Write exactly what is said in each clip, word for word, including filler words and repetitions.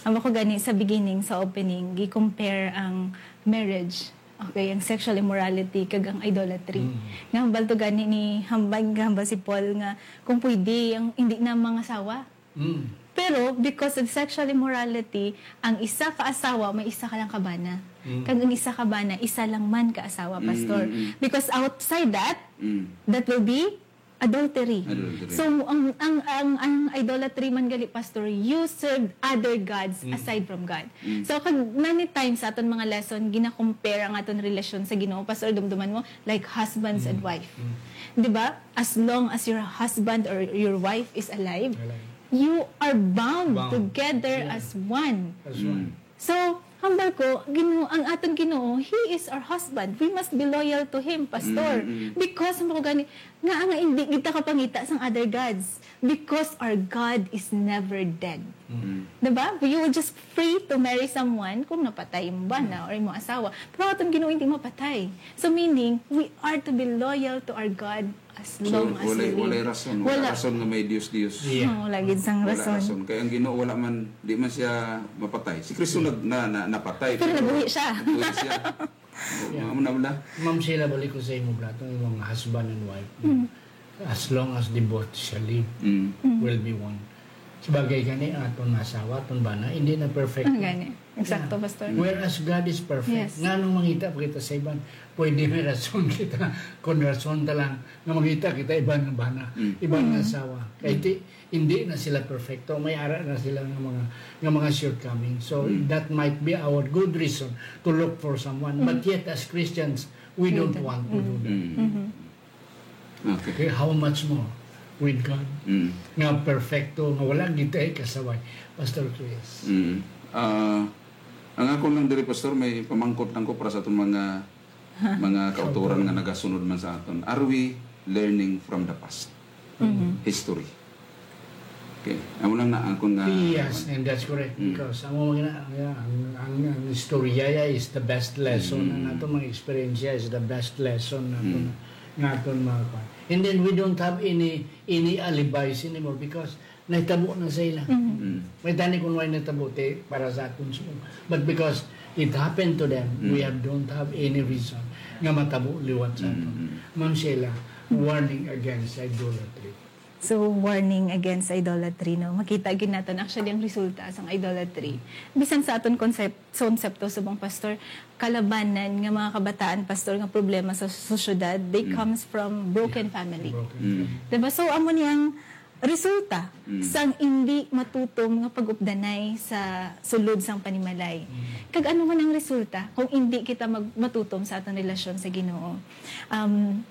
Ang ako gani sa beginning, sa opening, gi-compare ang marriage, okay, ang sexual immorality, kag ang idolatry. Mm. Nga hambal to gani ni hambal, nga hambal si Paul nga kung pwede, ang hindi na mangasawa. Mm. Pero because of sexual immorality, ang isa ka asawa may isa ka lang kabana. Mm. Kag ang isa kabana, isa lang man ka asawa, Mm, Pastor. mm, mm. Because outside that, Mm. that will be adultery. Adultery. So, ang, ang, ang, ang idolatry man gali, Pastor, you serve other gods Mm. aside from God. Mm. So, kag many times sa aton mga lesson, gina-compare ang aton relasyon sa Ginoo. Pastor, dumduman mo, like husbands and Mm. wife. Mm. Di ba? As long as your husband or your wife is alive, Alive. you are bound Bound. together Yeah. as one. As Mm. one. So, hambal ko, Ginoo, ang aton Ginoo, He is our husband. We must be loyal to Him, Pastor. Mm, mm. Because, hambal ko gani, nga nga hindi kita kapangita sang other gods. Because our God is never dead. Mm. Diba? You were just free to marry someone kung napatay mo ba na or imong asawa. Pero aton Ginoo hindi mapatay. So, meaning, we are to be loyal to our God as So, long as walay, we live. Walay rason. Wala Wala. rason nga may Dios-Dios. Yeah. Oo, wala gid sang Wala rason. rason. Kaya ang Ginoo wala man, di man siya mapatay. Si Kristo nag, na, na, napatay, Pero pero nabuhi siya. nabuhi siya. Yeah. Amo na, amo na. Ma'am Sheila, balik ko sa imo, bro. Itong imong husband and wife. Mm. As long as the both shall live, Mm. Mm. will be one. Sabagay gani, ang aton asawa, aton bana, hindi na perfect. Ah, gani. Eksakto, Yeah. Pastor. Whereas God is perfect, Yes. nganong mangita pa kita sa iban? Pwede may rason kita, kung rason ta lang, nga mangita kita iban nga bana, Mm. iban nga Mm. asawa. Kay Mm. ti-, hindi na sila perfecto, may ara na sila nga mga, nga mga shortcomings. So, Mm. that might be our good reason to look for someone. But Mm. yet, as Christians, we We don't don't. want to do Mm. that. Mm. Mm-hmm. Okay. Okay, how much more with God? Mm. Nga perfecto, nga wala gid tay kasaway. Pastor Chris. Mm. Ah, ang ako lang diri, Pastor, may pamangkot lang ko para sa aton mga, mga kautoran nga nagasunod man sa aton. Are we learning from the past? Mm-hmm. History. Okay. Amo lang na akon nga Yes, and that's correct. Mm. Because ang mga na, ang, ang, ang, ang istorya ya is the best lesson. Mm. Ang aton mga eksperyensya is the best lesson naton Mm. nga aton mga kwan. And then we don't have any, any alibis anymore because nahitabo na sa ila. Mm. Mm. May tani kung may nahitabo, ti, para sa aton sumo. But because it happened to them, we Mm. have, don't have any reason nga matabo liwat sa aton. Mm, mm. Ma'am Sheila, warning against idolatry. So, warning against idolatry, no? Makita gid naton actually ang resulta sang idolatry. Bisan sa aton konsep-, konsepto subong, Pastor, kalabanan nga mga kabataan, Pastor, nga problema sa sosyedad, they Mm. comes from broken Yeah, family. broken Mm. family. Diba? So, amo ni ang resulta Mm. sang hindi matutom nga pag-updanay sa sulod sang panimalay. Mm. Kag ano man ang resulta kung hindi kita mag-, matutom sa aton relasyon sa Ginoo? Um,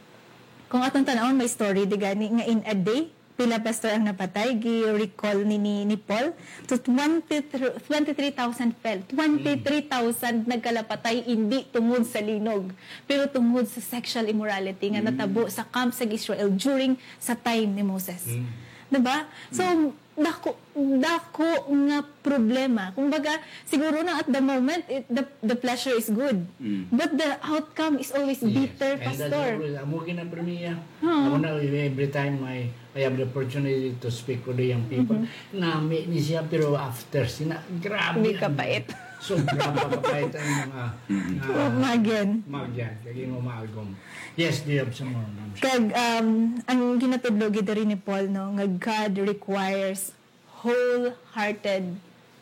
Kung aton tan-awon, may story di gani nga in a day, pila, Pastor, ang napatay, gi-recall ni, ni, ni Paul. So, twenty-three, twenty-three thousand fell. Twenty-three thousand nagkalapatay, hindi tungod sa linog, pero tungod sa sexual immorality nga Mm. natabo sa camp sa Israel during sa time ni Moses. Mm. Diba? So, Mm. dako, dako nga problema. Kumbaga, siguro na at the moment, it, the, the pleasure is good. Mm. But the outcome is always Yes. bitter, And that's Pastor. always, amo gid ang premiya. Oo. Amo na, every time I, I have the opportunity to speak with the young people, Mm-hmm. nami ni siya, pero after, sina, grabe Hindi ang kapait. Sobra pa kapait ang mga, Mm. ah, Magyan. magyan. Kag imo maagom. Yes, do you have some more, Ma'am? Kag, um, ang ginatudlo gid diri ni Paul, no, nga God requires wholehearted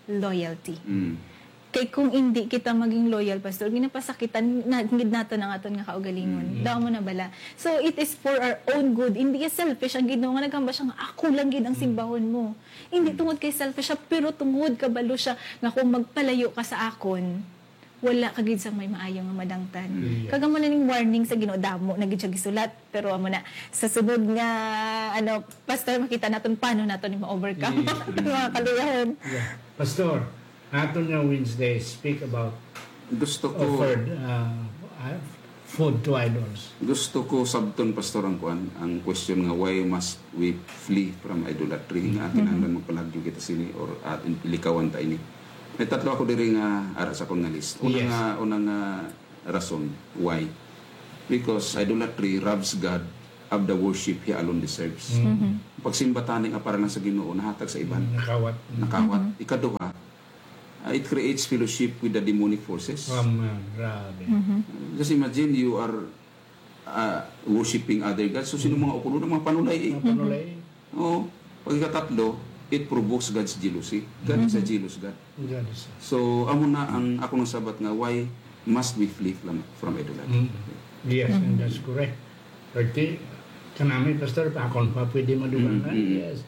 loyalty. Mm. Kay kung hindi kita maging loyal, Pastor, ginapasakitan na, gid naton ang aton nga kaugalingon. Mm. Daw mo na bala. So, it is for our own good. Hindi ya selfish ang Ginoo nga naghambal siya nga, "Ako lang gid ang Mm. simbahon mo." Hindi Mm. tungod kay selfish siya, pero tungod kabalo siya nga kung magpalayo ka sa akon, wala ka gid sang may maayo nga madangtan. Mm. Kag amo na ning warning sa Ginoo, damo na gid siya gisulat, pero amo na, sa sunod nga, ano, Pastor, makita naton paano naton ni ma-overcome Yeah. ang mga kaluyahon. Yeah. Pastor, aton nga Wednesday, speak about Gusto ko offered, uh, uh, food to idols. Gusto ko sabton, Pastor, ang kuan, ang question nga, why must we flee from idolatry? Nga Mhm. kinahanglan magpalagyo kita sini or, uh, likawan ta ini? May tatlo ako diri nga ara sa akon nga list. Una Yes. nga, una nga rason, why? Because idolatry robs God of the worship He alone deserves. Mm. Mhm. Pagsimba tani nga para lang sa Ginoo, nahatag sa iban. Mm, nakawat. Mm. Nakawat. Mhm. Ikaduha, it creates fellowship with the demonic forces. Amen. Grabe. Mhm. Just imagine you are, uh, worshiping other gods. So, sino mga ukulon? Ang mga panulay, eh. Mga panulay. Oo. Pagkatatlo, it provokes God's jealousy. God is a Mhm. jealous God. God is a So, amo na ang ako nang sabat nga, why must we flee from, from idolatry? Mm. Yes, and Mhm. that's correct. Pwede, kanami, Pastor, akon pa pwede madugangan. Mm, mm. Yes.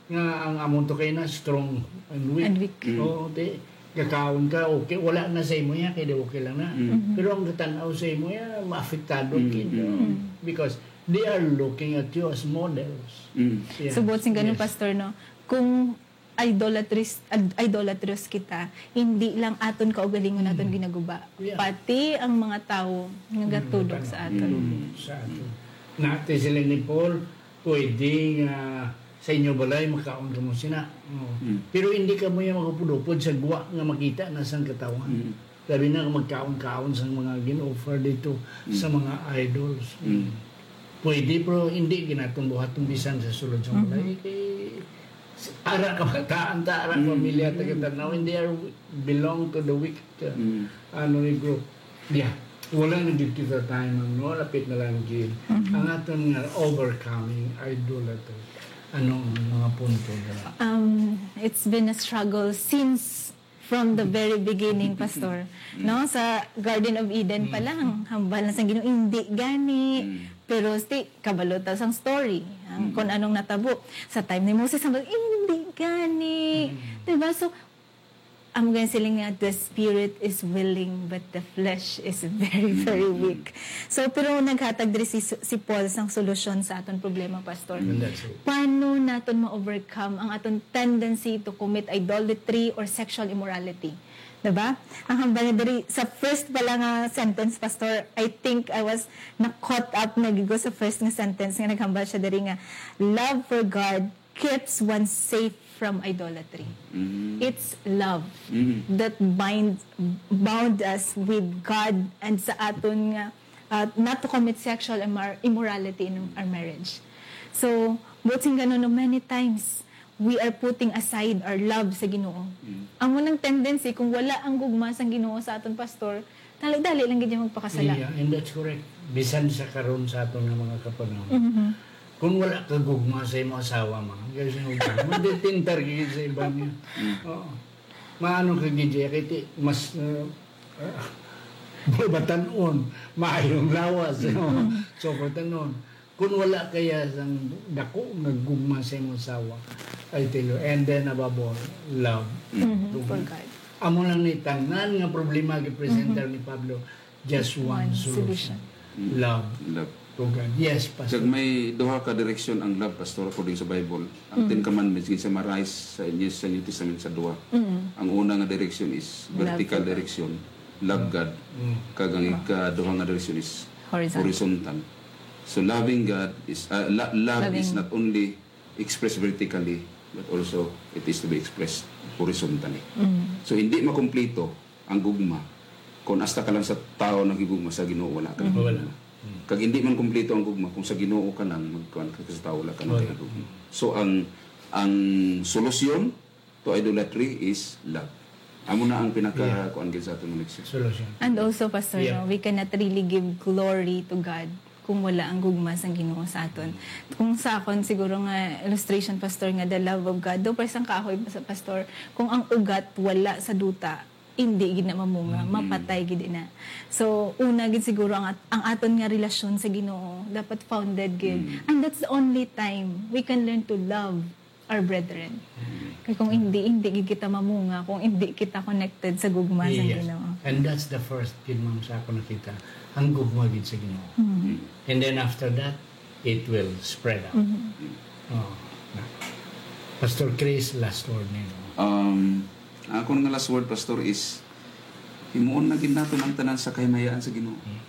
Nga ang amon to kay na strong and weak. And weak. Mm. Oo, di, gakaon ka, okay, wala na sa imo yan, kaya di okay lang na. Mm. Mhm. Pero ang gatan-aw sa imo yan, maapektado Mm, kid, mm, no? Mm. Because they are looking at you as models. Mm. Yeah. So, buot sing ganun, Yes. Pastor, no? Kung idolatrous, ad-, idolatrous kita, hindi lang aton kaugalingon aton Mm. ginaguba, Yeah. pati ang mga tawo nga Mm, gatulog sa aton. Mm. Sa aton. Nati sila ni Paul, pwede nga sa inyo balay makaon kamo sina. Oh. Mm. Pero hindi kamo yung magupod-upod sa guwa nga makita na sang katawhan. Mm. Labi na kung magkaon-kaon sang mga gin-offer dito Mm. sa mga idols. Mm. Pwede, pero hindi ginatumbuhat ang bisan sa sulod sa Mhm. balay. Kay, ara kabataan ta, ara Mm. pamilya ta kita. Now, and they are belong to the wicked, uh, Mm. ano ni group. Yeah. Wala na gid kita time, no? Lapit na lang gid. Mhm. Ang aton nga overcoming idolatry. Ano ang mga punto dira? Um, it's been a struggle since from the very beginning, Pastor. Mm. No? Sa Garden of Eden pa Mm. lang, hambal na sa Ginoo, "Hindi gani." Mm. Pero sti, kabalo ta sang story, ang Mm. kung anong natabo. Sa time ni Moses, hambal, "Hindi gani." Mm. Diba? So, amo gani sila nga, "The spirit is willing, but the flesh is very, Mm, very mm. weak." So, pero naghatag diri si, si Paul sang solusyon sa aton problema, Pastor. Mm, that's it. Paano naton ma-overcome ang aton tendency to commit idolatry or sexual immorality? Diba? Ang hambal niya diri, sa first pala nga sentence, Pastor, I think I was na-caught up na gigo sa first nga sentence nga naghambal siya diri nga, "Love for God keeps one safe from idolatry." Mm. It's love Mm. that bind, bound us with God and sa aton nga, uh, not to commit sexual immor-, immorality in our marriage. So, buot sing ganun, no, many times, we are putting aside our love sa Ginoo. Mm. Amo nang tendency, kung wala ang gugma sang Ginoo sa aton, Pastor, dali-dali lang gid niya magpakasala. Yeah, and that's correct. Bisan sa karon sa aton nga mga kapanahon. Mhm. Kung wala ka gugma sa imong asawa, mga, kaya sa imong gugma, madetectar ka gid sa iba niya. Mm. Oo. Maano ka gid, kay ti-, mas, uh, uh, batan-on, maayong lawas, no? Mm. So, batan-on. Kung wala kaya sang dako nga gugma sa imong asawa, I tell you, and then above all, love. Mhm, Gugma. For God. Amo lang ni tanan nga problema gipresenta Mhm. ni Pablo, just one One solution. solution. Mm. Love. Love. To God. Yes, Pastor. Kag may duha ka direksyon ang love, Pastor, according sa Bible. Ang Mm. Ten Commandments, ginsumarize sa New, sa New Testament sa duha. Mm. Ang una nga direksyon is Love vertical for God. direksyon, love God. Mm. Kag ang ikaduha nga direksyon is Horizontal. horizontal. So, loving God is, uh, lo-, love is Loving. not only expressed vertically, but also it is to be expressed horizontally. Mm. So, hindi makumpleto ang gugma kung hasta ka lang sa tao naghigugma, sa Ginoo wala ka Mm. Wala. nagugma. Mm. Kag hindi man kumpleto ang gugma kung sa Ginoo ka lang, magkuan ka sa tao, wala ka Wala. nagugma. So, ang, ang solusyon to idolatry is love. Amo na ang pinaka Yeah. kuan gid sa aton nga leksyon. Solution. And also, Pastor, Yeah. no, we cannot really give glory to God kung wala ang gugma sang Ginoo sa aton. Kung sa akon siguro nga illustration, Pastor, nga the love of God, do pa isang kahoy, Pas-, Pastor, kung ang ugat wala sa duta, hindi gid na mamunga, Mm. mapatay gid na. So, una gid siguro ang at-, ang aton nga relasyon sa Ginoo dapat founded gid. Mm. And that's the only time we can learn to love our brethren. Mm. Kay kung hindi, hindi gid kita mamunga, kung hindi kita connected sa gugma sa Yes. Ginoo. And that's the first gid, ma'am, sa ako nakita, ang gugma gid sa Ginoo. Mm. Mm. And then after that, it will spread out. Mm. Oh. Pastor Chris, last word nimo. Um, ang akon nga last word, Pastor, is himuon na gid naton ang tanan sa kahimayaan sa Ginoo. Mm.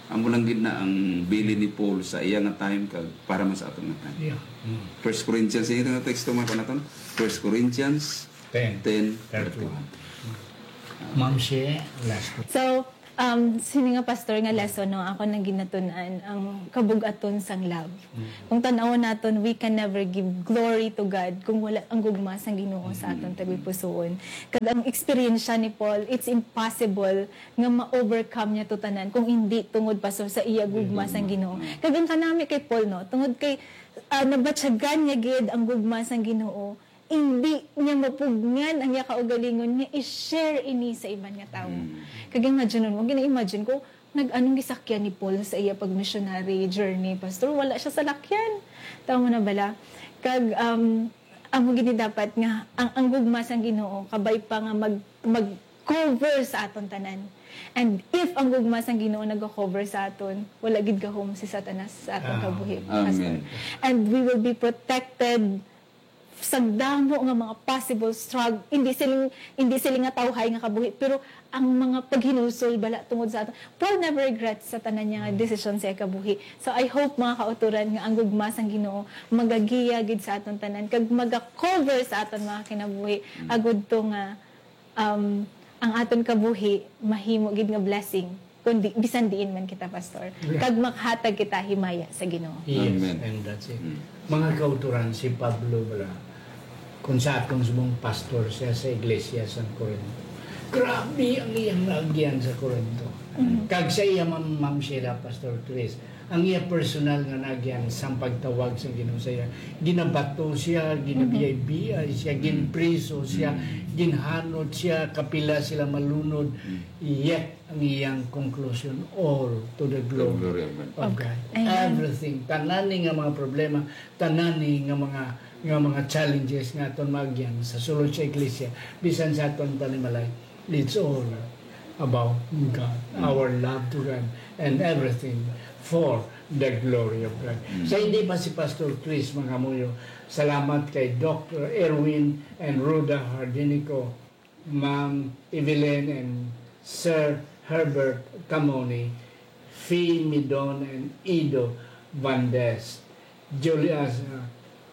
Amo lang gid na ang bilin ni Paul sa iya nga time kag para man sa aton nga time. Yeah. Mm. First Corinthians, ito nga teksto man naton. First Corinthians Ten. ten thirty-one. Ma'am Shea, last. So, Um, sini nga pastor nga lesson, no, ako nang ginatun-an ang kabug-aton sang love. Kung tan-awon naton, we can never give glory to God kung wala ang gugma sang Ginoo sa aton tagipusoon. Kag ang eksperyensya ni Paul, it's impossible nga ma-overcome niya to tanan kung hindi tungod, pastor, sa iya gugma sang Ginoo. Kag ang kanami kay Paul, no, tungod kay, ah, nabatyagan niya gid ang gugma sang Ginoo, hindi niya mapugngan ang iya kaugalingon nga i-share ini sa iban nga tawo. Kag imagine mo, gina-imagine ko, nag-anong gisakyan ni Paul sa iya pag-missionary journey, pastor? Wala siya salakyan. Tama na bala? Kag, um, amo gini dapat nga ang, ang gugma sang Ginoo kabay pa nga mag, mag-cover sa aton tanan. And if ang gugma sang Ginoo nag-cover sa aton, wala gid gahom si Satanas sa aton kabuhi, pastor. And we will be protected sa damo nga mga possible struggle, hindi siling, hindi siling nga tawhay nga kabuhi, pero ang mga paghinulsol bala tungod sa aton. Paul never regrets sa tanan niya nga desisyon sa iya kabuhi. So, I hope, mga kautoran, nga ang gugma sang Ginoo magagiya gid sa aton tanan kag maga-cover sa aton mga kinabuhi, agud to nga, um, ang aton kabuhi mahimo gid nga blessing, kundi bisan diin man kita, pastor, kag makahatag kita himaya sa Ginoo. Yes, and that's it. Mga kautoran, si Pablo bala, kung sa aton subong, pastor siya sa iglesia sa Corinto. Grabe ang iyang naagyan sa Corinto. Kag sa iya, Ma'am, Ma'am Sheila, Pastor Chris, ang iya personal nga naagyan sang pagtawag sa Ginoo sa iya. Ginabato siya, ginabiay-biay siya, ginpriso siya, ginhanot siya, kapila sila malunod. Yet, ang iyang conclusion, all to the glory of God. Everything, tanan ni nga mga problema, tanan ni nga mga, nga mga challenges nga aton maagyan sa sulod sa iglesia, bisan sa aton panimalay, it's all about God, our love to God, and everything for the glory of God. Sa hindi pa si Pastor Chris mangamuyo, salamat kay Doctor Erwin and Rhoda Hardinico, Ma'am Evelyn and Sir Herbert Camoni, Fee Midon and Ido Vandes, Julius, uh,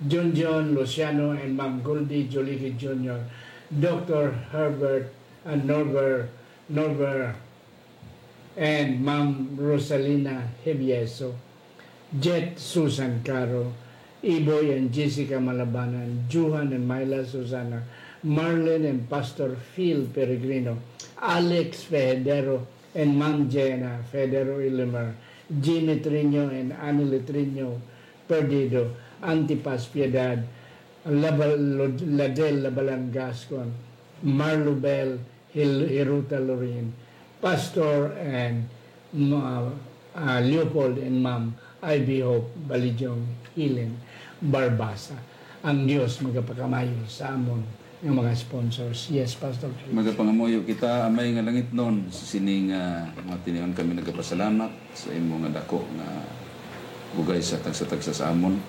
Junjun Luciano and Ma'am Goldie Jolique Junior, Doctor Herbert and Norbert, Norbert and Ma'am Rosalina Hevieso, Jet Susan Caro, Iboy and Jessica Malabanan, Johan and Myla Susana, Marlene and Pastor Phil Peregrino, Alex Federo and Ma'am Jenna Federo Ilimer, Jimmy Trino and Annie Trino Perdido, Antipas Piedad, Labal-, Ladel Labalan Gascon, Marlo Bell, Hil-, Hiruta Lorin, Pastor and, uh, uh, Leopold and Ma'am Ivy Hope Balijong Hilen Barbasa. Ang Dios magapakamayo sa amon nga mga sponsors. Yes, Pastor Chris. Magapangamuyo kita, Amay nga langitnon, sa sini nga mga tinion kami nagapasalamat sa imo nga dako nga bugay sa tagsa-tagsa sa amon.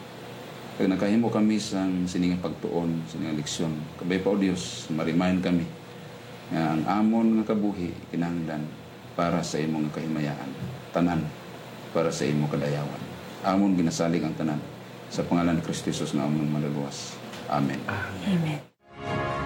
Kag nakahimo kami sang sini nga pagtuon, sini nga leksyon. Kabay pa, O Dios, ma-remind kami nga ang amon nga kabuhi kinahanglan para sa imo nga kahimayaan, tanan para sa imo kadayawan. Amon ginasalig ang tanan sa pangalan ni Cristo Jesus nga amon Manluluwas. Amen. Amen.